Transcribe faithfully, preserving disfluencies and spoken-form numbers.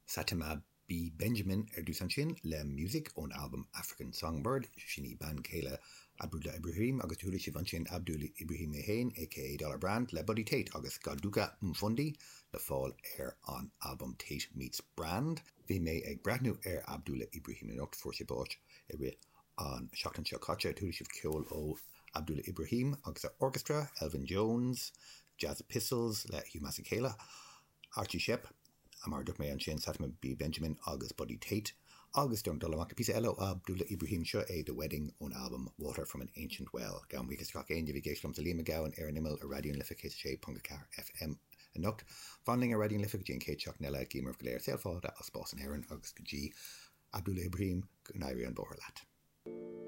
Satima B Benjamin ar dtús ansin le Music ón albam African Songbird, sin í bean chéile Abdullah Ibrahim agus chuala sibh ansin Abdullah Ibrahim é féin aka Dollar Brand le Buddy Tate agus Goduka Mfundi le fáil ar an albam Tate Meets Brand. Bhí mé ag breathnú ar Abdullah Ibrahim anocht fuair sé bás i rith an seachtain seo caite chuala sibh ceol ó Abdullah Ibrahim agus a orchestra, Elvin Jones, Jazz Epistles le Hugh Masekela, Archie Shepp, mar dúirt mé ansin Satima B Benjamin agus Buddy Tate, agus don dul amach píosa eile Abdullah Ibrahim seo é The Wedding ón album Water from an Ancient Well. Gabhaim buíochas gach éinne a bhí ag éisteacht liomsa Liam Mac Gabhann ar an imeall ar Raidió na Life céad sé ponc ceathair FM anocht. Fan linn ar Raidió na Life go dtí an chéad seachtain eile guím oraibh go léir saol fada as spás in Éirinn agus go dtí Abdullah Ibrahim go n-éirí an bóthar leat.